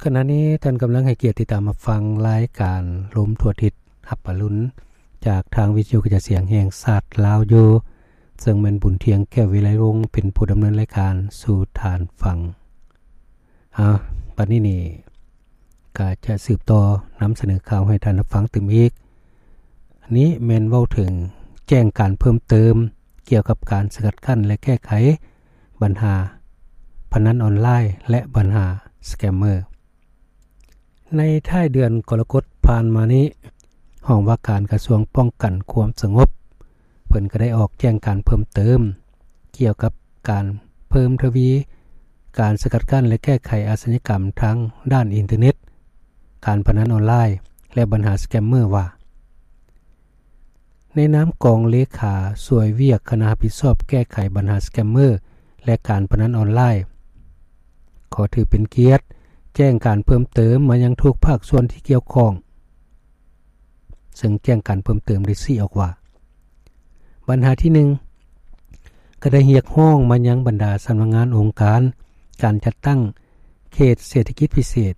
ຂະນະນີ້ທ່ານກຳລັງໃຫ້ກຽດຕິດຕາມຮັບຟັງລາຍການລົມທົ່ວທິດຮັບອະລຸນ ຈາກທາງວິທະຍຸກະຈາຍສຽງແຫ່ງຊາດລາວຢູ່, ເຊິ່ງແມ່ນບຸນທຽງ ແກ້ວວິໄລວົງ ເປັນຜູ້ດຳເນີນລາຍການສູ່ທ່ານຟັງ. ອາ ບັດນີ້ນີ້ ກະຈະສືບຕໍ່ນຳສະເໜີຂ່າວໃຫ້ທ່ານຮັບຟັງຕື່ມອີກ. ອັນນີ້ແມ່ນເວົ້າເຖິງແຈ້ງການເພີ່ມເຕີມກ່ຽວກັບການສະກັດກັ້ນ ແລະ ແກ້ໄຂບັນຫາພະນັນອອນລາຍ ແລະ ບັນຫາສະແກມເມີ. ໃນທ້າຍເດືອນກໍລະກົດຜ່ານມານີ້, ຫ້ອງວ່າການກະຊວງປ້ອງກັນຄວາມສະຫງົບ ເພິ່ນກໍໄດ້ອອກແຈ້ງການເພີ່ມເຕີມກ່ຽວກັບການເພີ່ມທະວີການສະກັດກັ້ນ ແລະ ແກ້ໄຂອາຊະຍາກຳທາງດ້ານອິນເຕີເນັດ, ການພະນັນອອນລາຍ ແລະ ບັນຫາສະແກມເມີວ່າ, ໃນນາມກອງເລຂາຊ່ວຍວຽກຄະນະຮັບຜິດຊອບແກ້ໄຂບັນຫາສະແກມເມີ ແລະ ການພະນັນອອນລາຍ, ຂໍຖືເປັນກຽດແຈ້ງການເພີ່ມເຕີມມາຍັງທຸກພາກສ່ວນທີ່ກ່ຽວຂ້ອງ. ເຊິ່ງແຈ້ງການເພີ່ມເຕີມໄດ້ຊີ້ອອກວ່າ, ບັນຫາທີໜຶ່ງ ກໍໄດ້ຮຽກຮ້ອງມາຍັງບັນດາສຳນັກງານອົງການ, ການຈັດຕັ້ງເຂດເສດຖະກິດພິເສດ,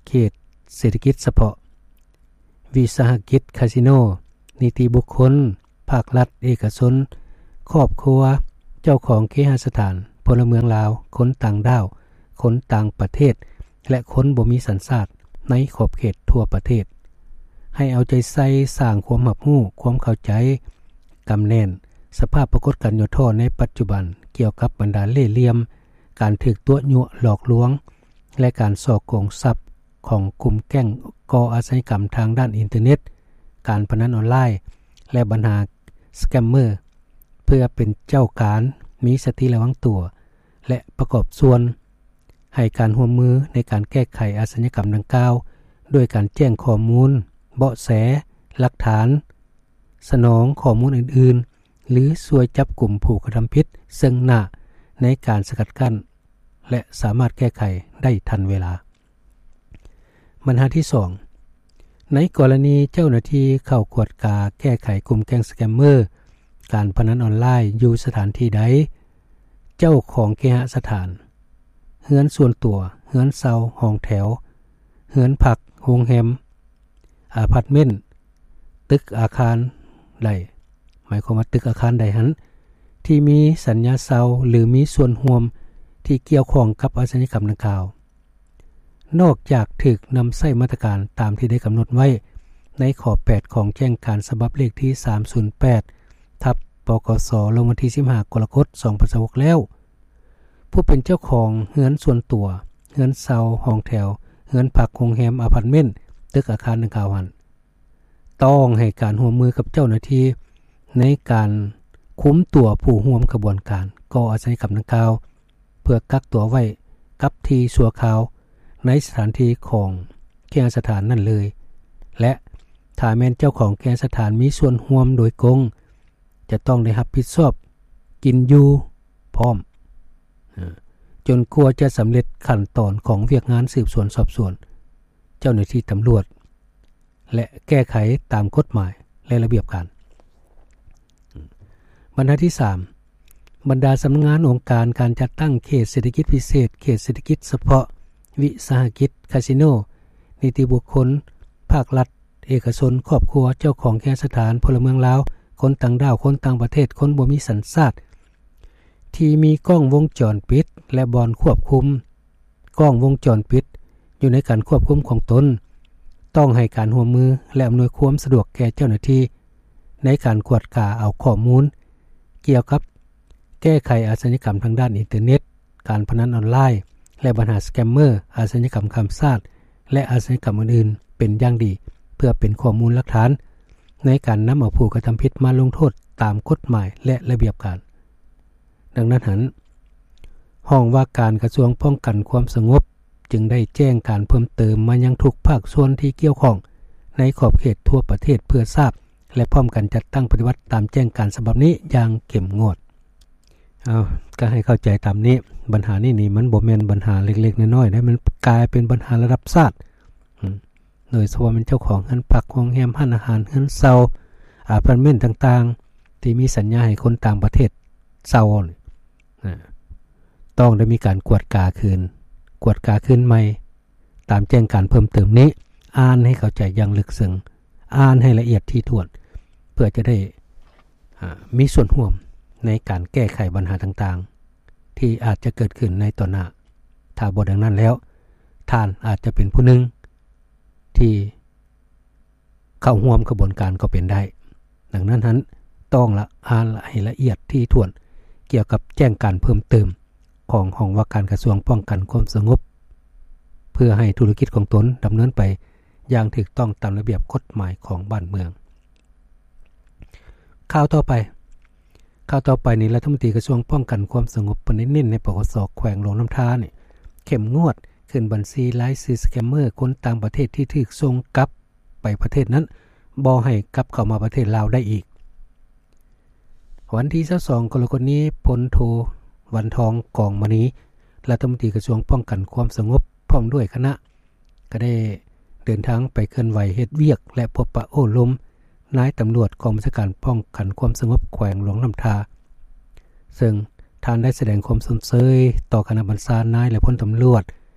ເຂດເສດຖະກິດສະເພາະ, ວິສາຫະກິດຄາສິໂນ, ນິຕິບຸກຄົນ, ພາກລັດ, ເອກະຊົນ, ຄອບຄົວ, ເຈົ້າຂອງເຄຫະສະຖານ, ພົນລະເມືອງລາວ, ຄົນຕ່າງດ້າວ, ຄົນຕ່າງປະເທດ ແລະ ຄົນບໍ່ມີສັນຊາດໃນຂອບເຂດທົ່ວປະເທດ ໃຫ້ເອົາໃຈໃສ່ສ້າງຄວາມຮັບຮູ້, ຄວາມເຂົ້າໃຈ, ກຳແໜ້ນສະພາບປາກົດການຫຍໍ້ທໍ້ໃນປັດຈຸບັນ ກ່ຽວກັບບັນດາເລ່ຫຼ່ຽມ, ການຖືກຕົວະຍົວະຫຼອກລວງ ແລະ ການສໍ້ໂກງຊັບຂອງກຸ່ມແກ້ງກໍ່ອາຊະຍາກຳທາງດ້ານອິນເຕີເນັດ, ການພະນັນອອນລາຍ ແລະ ບັນຫາສະແກມເມີ ເພື່ອເປັນເຈົ້າການ, ມີສະຕິລະວັງຕົວ ແລະ ປະກອບສ່ວນ ໃຫ້ການຮ່ວມມືໃນການແກ້ໄຂອາຊະຍາກຳດັ່ງກ່າວ ດ້ວຍການແຈ້ງຂໍ້ມູນ, ເບາະແສ, ຫຼັກຖານ, ສະໜອງຂໍ້ມູນອື່ນໆ ຫຼື ຊ່ວຍຈັບກຸມຜູ້ກະທຳຜິດເຊິ່ງໜ້າໃນການສະກັດກັ້ນ ແລະ ສາມາດແກ້ໄຂໄດ້ທັນເວລາ. ບັນຫາທີສອງ, ໃນກໍລະນີເຈົ້າໜ້າທີ່ເຂົ້າກວດກາແກ້ໄຂກຸ່ມແກ້ງສະແກມເມີ ການພະນັນອອນລາຍຢູ່ສະຖານທີ່ໃດ, ເຈົ້າຂອງເຄຫະສະຖານ, ເຮືອນສ່ວນຕົວ, ເຮືອນເຊົ່າ, ຫ້ອງແຖວ, ເຮືອນພັກ, ໂຮງແຮມ, ອາພາດເມັນ, ຕຶກອາຄານໃດ, ໝາຍຄວາມວ່າຕຶກອາຄານໃດຫັ້ນ ທີ່ມີສັນຍາເຊົ່າ ຫຼື ມີສ່ວນຮ່ວມທີ່ກ່ຽວຂ້ອງກັບອາຊະຍາກຳດັ່ງກ່າວ, ນອກຈາກຖືກນຳໃຊ້ມາດຕະການຕາມທີ່ໄດ້ກຳນົດໄວ້ໃນຂໍ້ແປດຂອງແຈ້ງການສະບັບເລກທີສາມສູນແປດ ທັບ ປກສ ລົງວັນທີສິບຫ້າ ກໍລະກົດ ສອງພັນຊາວຫົກ ແລ້ວ, ຜູ້ເປັນເຈົ້າຂອງເຮືອນສ່ວນຕົວ, ເຮືອນເຊົ່າ, ຫ້ອງແຖວ, ເຮືອນພັກ, ໂຮງແຮມ, ອາພາດເມັນ, ຕຶກອາຄານດັ່ງກ່າວຫັ້ນ ຕ້ອງໃຫ້ການຮ່ວມມືກັບເຈົ້າໜ້າທີ່ໃນການຄຸມຕົວຜູ້ຮ່ວມຂະບວນການກໍ່ອາຊະຍາກຳດັ່ງກ່າວ ເພື່ອກັກຕົວໄວ້ກັບທີ່ຊົ່ວຄາວໃນສະຖານທີ່ຂອງເຄຫະສະຖານນັ້ນເລີຍ ແລະ ຖ້າແມ່ນເຈົ້າຂອງເຄຫະສະຖານມີສ່ວນຮ່ວມໂດຍກົງ ຈະຕ້ອງໄດ້ຮັບຜິດຊອບກິນຢູ່ພ້ອມ ຈົນກວ່າຈະສຳເລັດຂັ້ນຕອນຂອງວຽກງານສືບສວນສອບສວນ, ເຈົ້າໜ້າທີ່ຕຳຫຼວດ ແລະ ແກ້ໄຂຕາມກົດໝາຍ ແລະ ລະບຽບການ. ບັນຫາທີສາມ, ບັນດາສຳນັກງານອົງການການຈັດຕັ້ງເຂດເສດຖະກິດພິເສດ, ເຂດເສດຖະກິດສະເພາະ, ວິສາຫະກິດ, ຄາສິໂນ, ນິຕິບຸກຄົນ, ພາກລັດ, ເອກະຊົນ, ຄອບຄົວ, ເຈົ້າຂອງເຄຫະສະຖານ, ພົນລະເມືອງລາວ, ຄົນຕ່າງດ້າວ, ຄົນຕ່າງປະເທດ, ຄົນບໍ່ມີສັນຊາດ, ທີ່ມີກ້ອງວົງຈອນປິດ ແລະ ບ່ອນຄວບຄຸມກ້ອງວົງຈອນປິດຢູ່ໃນການຄວບຄຸມຂອງຕົນ, ຕ້ອງໃຫ້ການຮ່ວມມື ແລະ ອຳນວຍຄວາມສະດວກແກ່ເຈົ້າໜ້າທີ່ໃນການກວດກາເອົາຂໍ້ມູນກ່ຽວກັບແກ້ໄຂອາຊະຍາກຳທາງດ້ານອິນເຕີເນັດ, ການພະນັນອອນລາຍ ແລະ ບັນຫາສະແກມເມີ, ອາຊະຍາກຳຂ້າມຊາດ ແລະ ອາຊະຍາກຳອື່ນໆ ເປັນຢ່າງດີ ເພື່ອເປັນຂໍ້ມູນຫຼັກຖານໃນການນຳເອົາຜູ້ກະທຳຜິດມາລົງໂທດຕາມກົດໝາຍ ແລະ ລະບຽບການ. ດັ່ງນັ້ນຫັ້ນ, ຫ້ອງວ່າການກະຊວງປ້ອງກັນຄວາມສະຫງົບ ຈຶ່ງໄດ້ແຈ້ງການເພີ່ມເຕີມມາຍັງທຸກພາກສ່ວນທີ່ກ່ຽວຂ້ອງໃນຂອບເຂດທົ່ວປະເທດ ເພື່ອຊາບ ແລະ ພ້ອມກັນຈັດຕັ້ງປະຕິບັດຕາມແຈ້ງການສະບັບນີ້ຢ່າງເຂັ້ມງວດ. ເອົາ, ກໍໃຫ້ເຂົ້າໃຈຕາມນີ້, ບັນຫານີ້ນີ້ມັນບໍ່ແມ່ນບັນຫາເລັກໆນ້ອຍໆເດ້, ມັນກາຍເປັນບັນຫາລະດັບຊາດ. ໂດຍສະເພາະແມ່ນເຈົ້າຂອງເຮືອນພັກ, ໂຮງແຮມ, ຮ້ານອາຫານ, ເຮືອນເຊົ່າ, ອາພາດເມັນຕ່າງໆ ທີ່ມີສັນຍາໃຫ້ຄົນຕ່າງປະເທດເຊົ່ານີ້ ນະ, ຕ້ອງໄດ້ມີການກວດກາຄືນ, ກວດກາຄືນໃໝ່ ຕາມແຈ້ງການເພີ່ມເຕີມນີ້ ອ່ານໃຫ້ເຂົ້າໃຈຢ່າງເລິກເຊິ່ງ, ອ່ານໃຫ້ລະອຽດຖີ່ຖ້ວນ ເພື່ອຈະໄດ້ ອາ ມີສ່ວນຮ່ວມໃນການແກ້ໄຂບັນຫາຕ່າງໆ ທີ່ອາດຈະເກີດຂຶ້ນໃນຕໍ່ໜ້າ. ຖ້າບໍ່ດັ່ງນັ້ນແລ້ວ, ທ່ານອາດຈະເປັນຜູ້ໜຶ່ງທີ່ ເຂົ້າຮ່ວມຂະບວນການກໍເປັນໄດ້. ດັ່ງນັ້ນຫັ້ນ, ຕ້ອງລະ ອ່ານລະ ໃຫ້ລະອຽດຖີ່ຖ້ວນ ກ່ຽວກັບແຈ້ງການເພີ່ມເຕີມຂອງຫ້ອງວ່າການກະຊວງປ້ອງກັນຄວາມສະຫງົບ ເພື່ອໃຫ້ທຸລະກິດຂອງຕົນດຳເນີນໄປຢ່າງຖືກຕ້ອງຕາມລະບຽບກົດໝາຍຂອງບ້ານເມືອງ. ຂ່າວຕໍ່ໄປ, ຂ່າວຕໍ່ໄປນີ້, ລັດຖະມົນຕີກະຊວງປ້ອງກັນຄວາມສະຫງົບ ເພິ່ນໄດ້ເນັ້ນໃຫ້ ປກສ ແຂວງຫຼວງນ້ຳທານີ້ ເຂັ້ມງວດ ຂຶ້ນບັນຊີລາຍຊື່ສະແກມເມີ ຄົນຕ່າງປະເທດທີ່ຖືກສົ່ງກັບ ໄປປະເທດນັ້ນ ບໍ່ໃຫ້ກັບເຂົ້າມາປະເທດລາວໄດ້ອີກ. ວັນທີຊາວສອງ ກໍລະກົດນີ້, ພົນໂທ ວັນທອງ ກອງມະນີ ລັດຖະມົນຕີກະຊວງປ້ອງກັນຄວາມສະຫງົບ ພ້ອມດ້ວຍຄະນະ ກໍໄດ້ເດີນທາງໄປເຄື່ອນໄຫວເຮັດວຽກ ແລະ ພົບປະໂອ້ລົມນາຍຕຳຫຼວດກອງບັນຊາການປ້ອງກັນຄວາມສະຫງົບແຂວງຫຼວງນ້ຳທາ, ເຊິ່ງທ່ານໄດ້ສະແດງຄວາມຊົມເຊີຍຕໍ່ຄະນະບັນຊານາຍ ແລະ ພົນຕຳຫຼວດ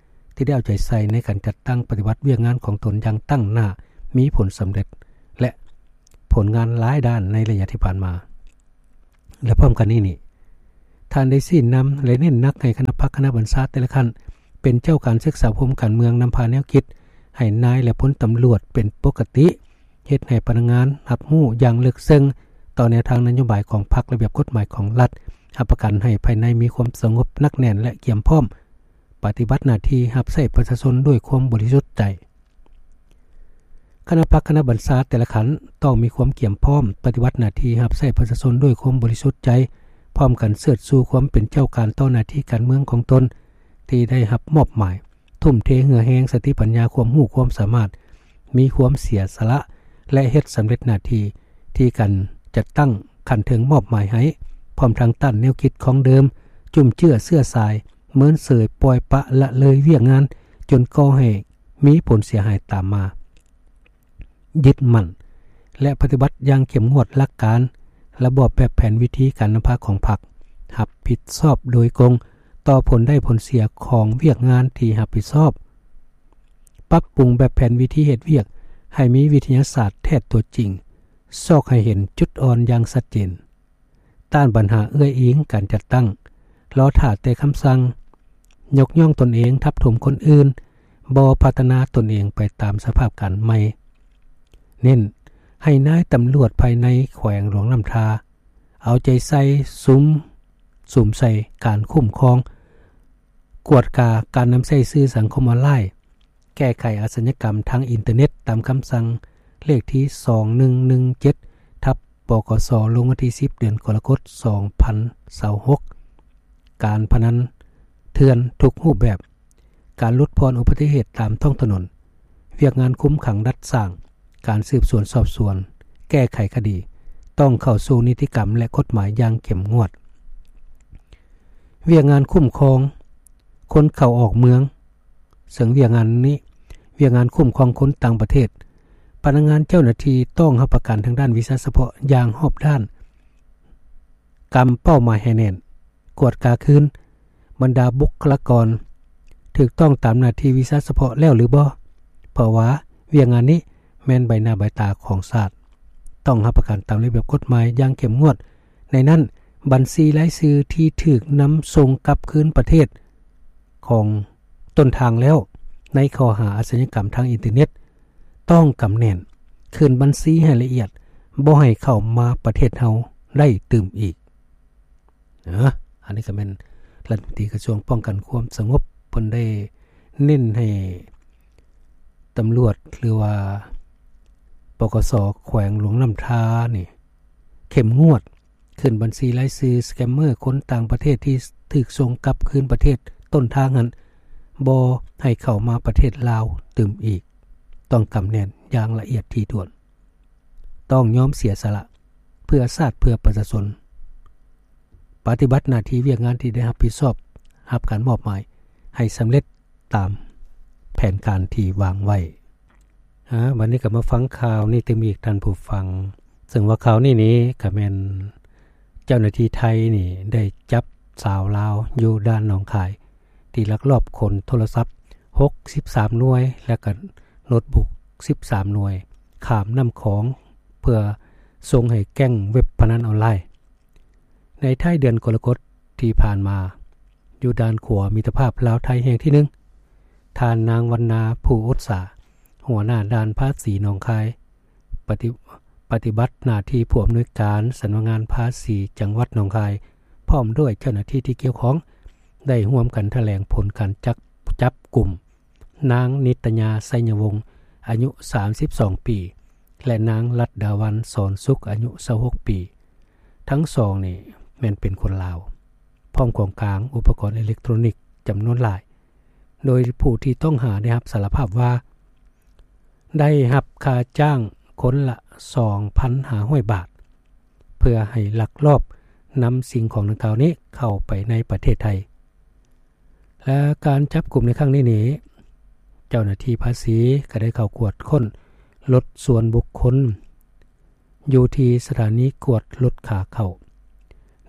ທີ່ໄດ້ເອົາໃຈໃສ່ໃນການຈັດຕັ້ງປະຕິບັດວຽກງານຂອງຕົນຢ່າງຕັ້ງໜ້າ, ມີຜົນສຳເລັດ ແລະ ຜົນງານຫຼາຍດ້ານໃນໄລຍະທີ່ຜ່ານມາ. ແລະ ພ້ອມກັນນີ້ນີ້, ທ່ານໄດ້ຊີ້ນຳ ແລະ ເນັ້ນໜັກໃຫ້ຄະນະພັກຄະນະບັນຊາແຕ່ລະຂັ້ນ ເປັນເຈົ້າການສຶກສາອົບຮົມການເມືອງ, ນຳພາແນວຄິດໃຫ້ນາຍ ແລະ ພົນຕຳຫຼວດເປັນປົກກະຕິ, ເຮັດໃຫ້ພະນັກງານຮັບຮູ້ຢ່າງເລິກເຊິ່ງຕໍ່ແນວທາງນະໂຍບາຍຂອງພັກ, ລະບຽບກົດໝາຍຂອງລັດ, ຮັບປະກັນໃຫ້ພາຍໃນມີຄວາມສະຫງົບໜັກແໜ້ນ ແລະ ກຽມພ້ອມ ປະຕິບັດໜ້າທີ່ຮັບໃຊ້ປະຊາຊົນດ້ວຍຄວາມບໍລິສຸດໃຈ. ຄະນະພັກຄະນະບັນຊາແຕ່ລະຂັ້ນຕ້ອງມີຄວາມກຽມພ້ອມປະຕິບັດໜ້າທີ່ຮັບໃຊ້ປະຊາຊົນດ້ວຍຄວາມບໍລິສຸດໃຈ, ພ້ອມກັນເຊີດຊູຄວາມເປັນເຈົ້າການຕໍ່ໜ້າທີ່ການເມືອງຂອງຕົນທີ່ໄດ້ຮັບມອບໝາຍ, ທຸ່ມເທເຫື່ອແຮງ, ສະຕິປັນຍາ, ຄວາມຮູ້ຄວາມສາມາດ, ມີຄວາມເສຍສະຫຼະ ແລະ ເຮັດສຳເລັດໜ້າທີ່ທີ່ການຈັດຕັ້ງຂັ້ນເທິງມອບໝາຍໃຫ້, ພ້ອມທັງຕ້ານແນວຄິດຄອງເດີມ, ຈຸ້ມເຈື້ອເຊື້ອສາຍ, ເມີນເສີຍ, ປ່ອຍປະລະເລີຍວຽກງານ ຈົນກໍ່ໃຫ້ ມີຜົນເສຍຫາຍຕາມມາ. ຍຶດໝັ້ນ ແລະ ປະຕິບັດຢ່າງເຂັ້ມງວດຫຼັກການ, ລະບອບ, ແບບແຜນ, ວິທີການນຳພາຂອງພັກ, ຮັບຜິດຊອບໂດຍກົງຕໍ່ຜົນໄດ້ຜົນເສຍຂອງວຽກງານທີ່ຮັບຜິດຊອບ, ປັບປຸງແບບແຜນວິທີເຮັດວຽກໃຫ້ມີວິທະຍາສາດແທດຕົວຈິງ, ຊອກໃຫ້ເຫັນຈຸດອ່ອນຢ່າງຊັດເຈນ. ຕ້ານບັນຫາເອື້ອຍອີງການຈັດຕັ້ງ, ລໍຖ້າແຕ່ຄຳສັ່ງ, ຍົກຍ້ອງຕົນເອງ, ທັບຖົມຄົນອື່ນ, ບໍ່ພັດທະນາຕົນເອງໄປຕາມສະພາບການໃໝ່. ເນັ້ນໃຫ້ນາຍຕຳຫຼວດພາຍໃນແຂວງຫຼວງນ້ຳທາ ເອົາໃຈໃສ່ສຸມ, ສຸມໃສ່ການຄຸ້ມຄອງ, ກວດກາການນຳໃຊ້ສື່ສັງຄົມອອນລາຍ, ແກ້ໄຂອາຊະຍາກຳທາງອິນເຕີເນັດ ຕາມຄຳສັ່ງເລກທີສອງໜຶ່ງໜຶ່ງເຈັດ ທັບ ປກສ ລົງວັນທີສິບ ເດືອນກໍລະກົດ ສອງພັນຊາວຫົກ. ການພະນັນເຖື່ອນທຸກຮູບແບບ, ການຫຼຸດຜ່ອນອຸບັດຕິເຫດຕາມທ້ອງຖະໜົນ, ວຽກງານຄຸມຂັງດັດສ້າງ, ການສືບສວນສອບສວນ, ແກ້ໄຂຄະດີ ຕ້ອງເຂົ້າສູ່ນິຕິກຳ ແລະ ກົດໝາຍຢ່າງເຂັ້ມງວດ. ວຽກງານຄຸ້ມຄອງຄົນເຂົ້າອອກເມືອງ, ເຊິ່ງວຽກງານນີ້ ວຽກງານຄຸ້ມຄອງຄົນຕ່າງປະເທດ, ພະນັກງານເຈົ້າໜ້າທີ່ຕ້ອງຮັບປະກັນທາງດ້ານວິຊາສະເພາະຢ່າງຮອບດ້ານ, ກຳເປົ້າໝາຍໃຫ້ແໜ້ນ, ກວດກາຄືນບັນດາບຸກຄະລາກອນຖືກຕ້ອງຕາມໜ້າທີ່ວິຊາສະເພາະແລ້ວຫຼືບໍ່, ເພາະວ່າວຽກງານນີ້ແມ່ນໃບໜ້າໃບຕາຂອງຊາດ, ຕ້ອງຮັບປະກັນຕາມລະບຽບກົດໝາຍຢ່າງເຂັ້ມງວດ. ໃນນັ້ນ, ບັນຊີລາຍຊື່ທີ່ຖືກນຳສົ່ງກັບຄືນປະເທດຂອງຕົ້ນທາງແລ້ວ ໃນຂໍ້ຫາອາຊະຍາກຳທາງອິນເຕີເນັດ ຕ້ອງກຳແໜ້ນ, ຄືນບັນຊີໃຫ້ລະອຽດ, ບໍ່ໃຫ້ເຂົ້າມາປະເທດເຮົາໄດ້ຕື່ມອີກ. ເນາະ ອັນນີ້ກໍແມ່ນລັດຖະມົນຕີກະຊວງປ້ອງກັນຄວາມສະຫງົບ ເພິ່ນໄດ້ເນັ້ນໃຫ້ຕຳຫຼວດ ຫຼືວ່າ ປກສ ແຂວງຫຼວງນ້ຳທານີ້ ເຂັ້ມງວດ ຂຶ້ນບັນຊີລາຍຊື່ສະແກມເມີ ຄົນຕ່າງປະເທດທີ່ຖືກສົ່ງກັບຄືນປະເທດຕົ້ນທາງຫັ້ນ ບໍ່ໃຫ້ເຂົ້າມາປະເທດລາວຕື່ມອີກ. ຕ້ອງກຳແໜ້ນຢ່າງລະອຽດຖີ່ຖ້ວນ. ຕ້ອງຍອມເສຍສະຫຼະເພື່ອຊາດເພື່ອປະຊາຊົນ, ປະຕິບັດໜ້າທີ່ວຽກງານທີ່ໄດ້ຮັບຜິດຊອບ, ຮັບການມອບໝາຍໃຫ້ສຳເລັດຕາມແຜນການທີ່ວາງໄວ້. ອາ, ບັດນີ້ກໍມາຟັງຂ່າວນີ້ຕື່ມອີກທ່ານຜູ້ຟັງ, ເຊິ່ງວ່າຂ່າວນີ້ນີ້ກໍແມ່ນເຈົ້າໜ້າທີ່ໄທນີ້ໄດ້ຈັບຊາວລາວຢູ່ດ່ານໜອງຄາຍ ທີ່ລັກລອບຂົນໂທລະສັບ ຫົກສິບສາມໜ່ວຍ ແລະກະໂນ້ດບຸກສິບສາມໜ່ວຍ ຂ້າມນ້ຳຂອງ ເພື່ອສົ່ງໃຫ້ແກ້ງເວັບພະນັນອອນລາຍ. ໃນທ້າຍເດືອນກໍລະກົດທີ່ຜ່ານມາ, ຢູ່ດ່ານຂົວມິດຕະພາບລາວໄທແຫ່ງທີໜຶ່ງ, ທ່ານນາງ ວັນນາ ພູອຸດສາ, ຫົວໜ້າດ່ານພາສີໜອງຄາຍ, ປະຕິ ປະຕິບັດໜ້າທີ່ຜູ້ອຳນວຍການສຳນັກງານພາສີຈັງຫວັດໜອງຄາຍ ພ້ອມດ້ວຍເຈົ້າໜ້າທີ່ທີ່ກ່ຽວຂ້ອງ ໄດ້ຮ່ວມກັນຖະແຫຼງຜົນການຈັບ ຈັບກຸມ ນາງ ນິດຕະຍາ ໄຊຍະວົງ ອາຍຸສາມສິບສອງປີ ແລະ ນາງ ລັດດາວັນ ສອນສຸກ ອາຍຸຊາວຫົກປີ. ທັງສອງນີ້ແມ່ນເປັນຄົນລາວ, ພ້ອມຂອງກາງອຸປະກອນເອເລັກໂຕຣນິກຈຳນວນຫຼາຍ, ໂດຍຜູ້ທີ່ຕ້ອງຫາໄດ້ຮັບສາລະພາບວ່າ ໄດ້ຮັບຄ່າຈ້າງຄົນລະສອງພັນຫ້າຮ້ອຍບາດ ເພື່ອໃຫ້ລັກລອບນຳສິ່ງຂອງດັ່ງກ່າວນີ້ເຂົ້າໄປໃນປະເທດໄທ. ແລະ ການຈັບກຸມໃນຄັ້ງນີ້ນີ້, ເຈົ້າໜ້າທີ່ພາສີກໍໄດ້ເຂົ້າກວດຄົ້ນລົດສ່ວນບຸກຄົນ ຢູ່ທີ່ສະຖານີກວດລົດຂາເຂົ້າ,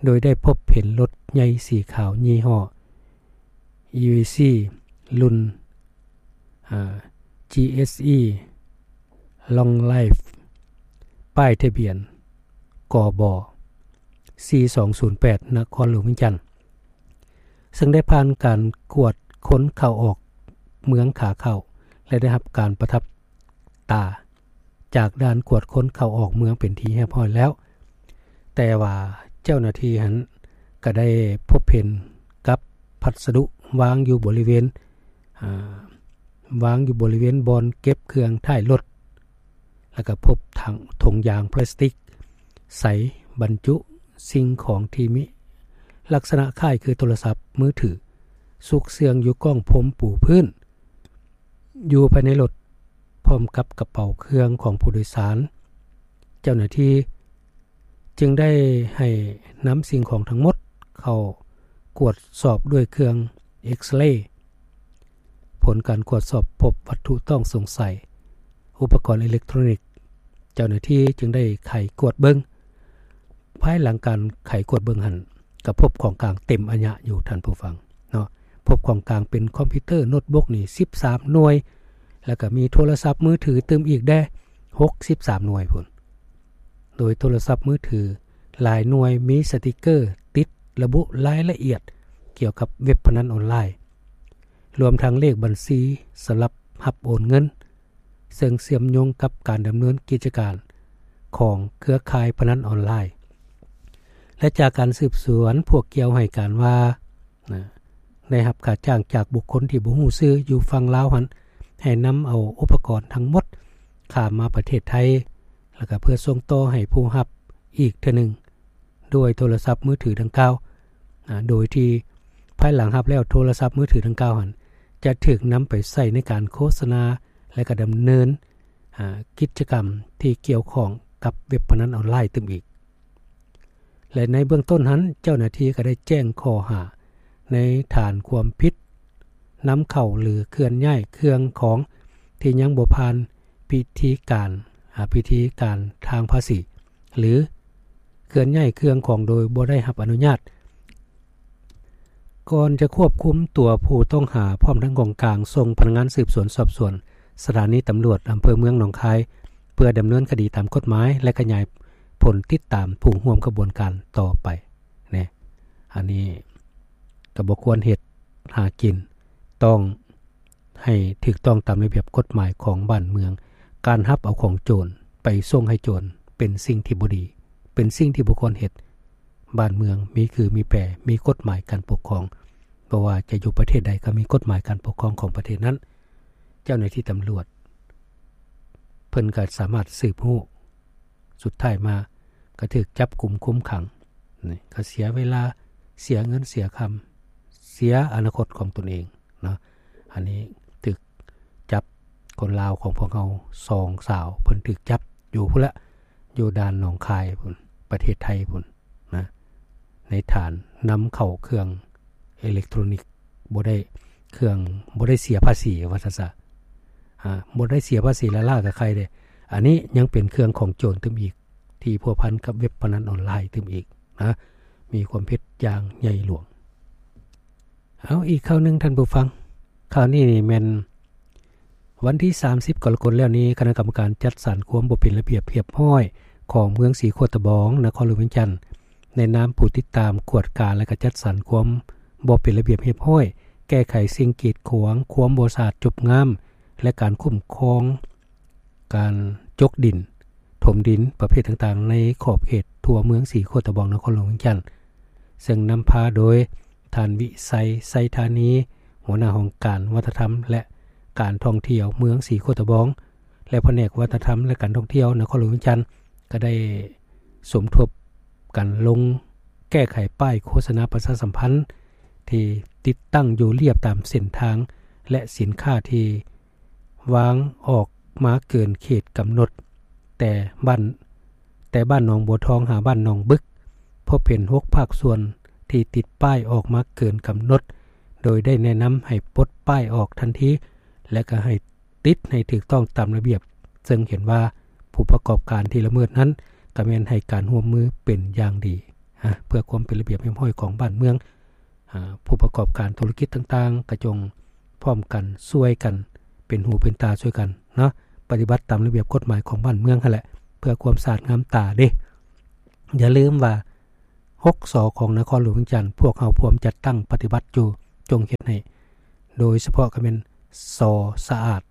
ໂດຍໄດ້ພົບເຫັນລົດໃຫຍ່ສີຂາວຍີ່ຫໍ້ ອີວີຊີ ລຸ້ນ ອາ ຈີເອສອີ Long Life ປ້າຍທະບຽນ ກບ ສີ່ສອງສູນແປດ ນະຄອນຫຼວງວຽງຈັນ, ເຊິ່ງໄດ້ຜ່ານການກວດຄົນເຂົ້າອອກເມືອງຂາເຂົ້າ ແລະ ໄດ້ຮັບການປະທັບຕາຈາກດ່ານກວດຄົນເຂົ້າອອກເມືອງເປັນທີ່ຮຽບຮ້ອຍແລ້ວ. ແຕ່ວ່າເຈົ້າໜ້າທີ່ຫັ້ນກໍໄດ້ພົບເຫັນກັບພັດສະດຸວາງຢູ່ບໍລິເວນ ອາ ວາງຢູ່ບໍລິເວນບ່ອນເກັບເຄື່ອງທ້າຍລົດ, ແລ້ວກໍພົບຖັງ ຖົງຢາງພລາສຕິກໃສບັນຈຸສິ່ງຂອງທີ່ມີລັກສະນະຄ້າຍຄືໂທລະສັບມືຖື ຊຸກເຊື່ອງຢູ່ກ້ອງພົມປູພື້ນ ຢູ່ພາຍໃນລົດ ພ້ອມກັບກະເປົາເຄື່ອງຂອງຜູ້ໂດຍສານ. ເຈົ້າໜ້າທີ່ຈຶ່ງໄດ້ໃຫ້ນຳສິ່ງຂອງທັງໝົດເຂົ້າກວດສອບດ້ວຍເຄື່ອງເອັກສະເລ. ຜົນການກວດສອບພົບວັດຖຸຕ້ອງສົງໄສ, ອຸປະກອນເອເລັກໂຕຣນິກ. ເຈົ້າໜ້າທີ່ຈຶ່ງໄດ້ໄຂກວດເບິ່ງ. ພາຍຫຼັງການໄຂກວດເບິ່ງຫັ້ນ ກໍພົບຂອງກາງເຕັມອາຍະຢູ່, ທ່ານຜູ້ຟັງເນາະ. ພົບຂອງກາງເປັນຄອມພິວເຕີໂນ້ດບຸກນີ້ສິບສາມໜ່ວຍ, ແລ້ວກໍມີໂທລະສັບມືຖືຕື່ມອີກແດ່ຫົກສິບສາມໜ່ວຍພຸ້ນ, ໂດຍໂທລະສັບມືຖືຫຼາຍໜ່ວຍມີສະຕິກເກີຕິດລະບຸລາຍລະອຽດກ່ຽວກັບເວັບພະນັນອອນລາຍ, ລວມທັງເລກບັນຊີສຳລັບຮັບໂອນເງິນ, ເຊິ່ງເຊື່ອມໂຍງກັບການດຳເນີນກິດຈະການຂອງເຄືອຂ່າຍພະນັນອອນລາຍ. ແລະ ຈາກການສືບສວນ, ພວກກ່ຽວໃຫ້ການວ່າ ນະ ໄດ້ຮັບຄ່າຈ້າງຈາກບຸກຄົນທີ່ບໍ່ຮູ້ຊື່ຢູ່ຝັ່ງລາວຫັ້ນ ໃຫ້ນຳເອົາອຸປະກອນທັງໝົດຂ້າມມາປະເທດໄທ, ແລ້ວກໍເພື່ອສົ່ງຕໍ່ໃຫ້ຜູ້ຮັບອີກເທື່ອໜຶ່ງ ດ້ວຍໂທລະສັບມືຖືດັ່ງກ່າວ, ອາ ໂດຍທີ່ພາຍຫຼັງຮັບແລ້ວ ໂທລະສັບມືຖືດັ່ງກ່າວຫັ້ນ ຈະຖືກນຳໄປໃຊ້ໃນການໂຄສະນາ ແລະ ກໍດຳເນີນ ອາ ກິດຈະກຳທີ່ກ່ຽວຂ້ອງກັບເວັບພະນັນອອນລາຍຕື່ມອີກ. ແລະ ໃນເບື້ອງຕົ້ນຫັ້ນ ເຈົ້າໜ້າທີ່ກໍໄດ້ແຈ້ງຂໍ້ຫາໃນຖານຄວາມຜິດນຳເຂົ້າ ຫຼື ເຄື່ອນຍ້າຍເຄື່ອງຂອງທີ່ຍັງບໍ່ຜ່ານພິທີການ ອາ ພິທີການທາງພາສີ ຫຼື ເຄື່ອນຍ້າຍເຄື່ອງຂອງໂດຍບໍ່ໄດ້ຮັບອະນຸຍາດ. ກ່ອນຈະຄວບຄຸມຕົວຜູ້ຕ້ອງຫາ ພ້ອມທັງຂອງກາງ ສົ່ງພະນັກງານສືບສວນສອບສວນສະຖານີຕຳຫຼວດອຳເພີເມືອງໜອງຄາຍ ເພື່ອດຳເນີນຄະດີຕາມກົດໝາຍ ແລະ ຂະຫຍາຍຜົນຕິດຕາມຜູ້ຮ່ວມຂະບວນການຕໍ່ໄປ. ແນະ ອັນນີ້ກໍບໍ່ຄວນເຮັດຫາກິນ, ຕ້ອງໃຫ້ຖືກຕ້ອງຕາມລະບຽບກົດໝາຍຂອງບ້ານເມືອງ. ການຮັບເອົາຂອງໂຈນໄປສົ່ງໃຫ້ໂຈນເປັນສິ່ງທີ່ບໍ່ດີ, ເປັນສິ່ງທີ່ບໍ່ຄວນເຮັດ. ບ້ານເມືອງມີຄືມີແປ, ມີກົດໝາຍການປົກຄອງ, ບໍ່ວ່າຈະຢູ່ປະເທດໃດກໍມີກົດໝາຍການປົກຄອງຂອງປະເທດນັ້ນ. ເຈົ້າໜ້າທີ່ຕຳຫຼວດເພິ່ນກໍສາມາດສືບຮູ້, ສຸດທ້າຍມາກໍຖືກຈັບກຸມຄຸມຂັງ. ນີ້ກໍເສຍເວລາ, ເສຍເງິນ, ເສຍຄຳ, ເສຍອະນາຄົດຂອງຕົນເອງເນາະ. ອັນນີ້ຖືກຈັບ, ຄົນລາວຂອງພວກເຮົາສອງສາວ ເພິ່ນຖືກຈັບຢູ່ພຸ້ນລະ, ຢູ່ດ່ານໜອງຄາຍພຸ້ນ, ປະເທດໄທພຸ້ນນະ, ໃນຖານນຳເຂົ້າເຄື່ອງເອເລັກໂຕຣນິກ ບໍ່ໄດ້ເຄື່ອງ, ບໍ່ໄດ້ເສຍພາສີ ວ່າຊັ້ນຊະ. ອາ, ບໍ່ໄດ້ເສຍພາສີລ້າໆກໍໄຄເດ້. ອັນນີ້ຍັງເປັນເຄື່ອງຂອງໂຈນຕື່ມອີກ ທີ່ພົວພັນກັບເວັບພະນັນອອນລາຍຕື່ມອີກນະ, ມີຄວາມຜິດຢ່າງໃຫຍ່ຫຼວງ. ເອົາ, ອີກຂ່າວໜຶ່ງທ່ານຜູ້ຟັງ, ຂ່າວນີ້ນີ້ແມ່ນວັນທີສາມສິບກໍລະກົດແລ້ວນີ້ ຄະນະກຳມະການຈັດສັນຄວາມບໍ່ເປັນລະບຽບຮຽບຮ້ອຍຂອງເມືອງສີໂຄດຕະບອງ ນະຄອນຫຼວງວຽງຈັນ ໃນນາມຜູ້ຕິດຕາມ, ກວດກາ ແລະ ກະຈັດສັນຄວາມບໍ່ເປັນລະບຽບຮຽບຮ້ອຍ, ແກ້ໄຂສິ່ງກີດຂວາງ, ຄວາມບໍ່ສະອາດຈົບງາມ ແລະ ການຄຸ້ມຄອງ ການຈົກດິນ, ຖົມດິນປະເພດຕ່າງໆ ໃນຂອບເຂດທົ່ວເມືອງສີໂຄດຕະບອງ ນະຄອນຫຼວງວຽງຈັນ, ເຊິ່ງນຳພາໂດຍ ທ່ານ ວິໄສ ໄຊທານີ ຫົວໜ້າຫ້ອງການວັດທະນະທຳ ແລະ ການທ່ອງທ່ຽວເມືອງສີໂຄດຕະບອງ ແລະ ພະແນກວັດທະນະທຳ ແລະ ການທ່ອງທ່ຽວນະຄອນຫຼວງວຽງຈັນ ກໍໄດ້ສົມທົບກັນລົງແກ້ໄຂປ້າຍໂຄສະນາປະຊາສຳພັນ ທີ່ຕິດຕັ້ງຢູ່ລຽບຕາມເສັ້ນທາງ ແລະ ສິນຄ້າທີ່ວາງອອກມາເກີນເຂດກຳນົດ ແຕ່ບ້ານ ແຕ່ບ້ານໜອງບົວທອງຫາບ້ານໜອງບຶກ ພົບເຫັນຫົກພາກສ່ວນທີ່ຕິດປ້າຍອອກມາເກີນກຳນົດ ໂດຍໄດ້ແນະນຳໃຫ້ປົດປ້າຍອອກທັນທີ ແລະ ກໍໃຫ້ຕິດໃຫ້ຖືກຕ້ອງຕາມລະບຽບ, ເຊິ່ງເຫັນວ່າຜູ້ປະກອບການທີ່ລະເມີດນັ້ນ ກໍແມ່ນໃຫ້ການຮ່ວມມືເປັນຢ່າງດີ. ອາ ເພື່ອຄວາມເປັນລະບຽບຮຽບຮ້ອຍຂອງບ້ານເມືອງ, ອາ ຜູ້ປະກອບການທຸລະກິດຕ່າງໆ ກໍຈົ່ງພ້ອມກັນຊ່ວຍກັນເປັນຫູເປັນຕາຊ່ວຍກັນເນາະ, ປະຕິບັດຕາມລະບຽບກົດໝາຍຂອງບ້ານເມືອງຫັ້ນແຫຼະ ເພື່ອຄວາມສະອາດງາມຕາເດ້. ຢ່າລືມວ່າ ຫົກ ສ ຂອງນະຄອນຫຼວງວຽງຈັນ ພວກເຮົາພວມຈັດຕັ້ງປະຕິບັດຢູ່, ຈົ່ງເຮັດໃຫ້ ໂດຍສະເພາະກໍແມ່ນ ສ ສະອາດ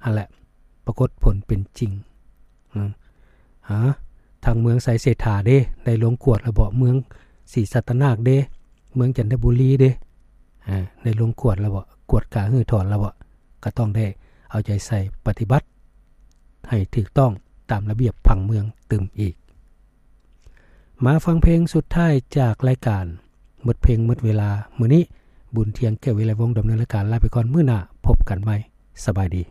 ຫັ້ນແຫຼະ ປາກົດຜົນເປັນຈິງ. ອາ ທາງເມືອງໄຊເສດຖາເດ້ ໄດ້ລົງກວດແລ້ວບໍ? ເມືອງສີສັດຕະນາກເດ້? ເມືອງຈັນທະບູລີເດ້? ອາ ໄດ້ລົງກວດແລ້ວບໍ? ກວດກາຮື້ຖອນແລ້ວບໍ? ກໍຕ້ອງໄດ້ເອົາໃຈໃສ່ປະຕິບັດໃຫ້ຖືກຕ້ອງຕາມລະບຽບຜັງເມືອງຕື່ມອີກ. ມາຟັງເພງສຸດທ້າຍຈາກລາຍການ ໝົດເພງໝົດເວລາ. ມື້ນີ້ ບຸນທຽງ ແກ້ວວິໄລວົງ ດຳເນີນລາຍການ. ລາໄປກ່ອນ, ມື້ໜ້າພົບກັນໃໝ່. ສະບາຍດີ.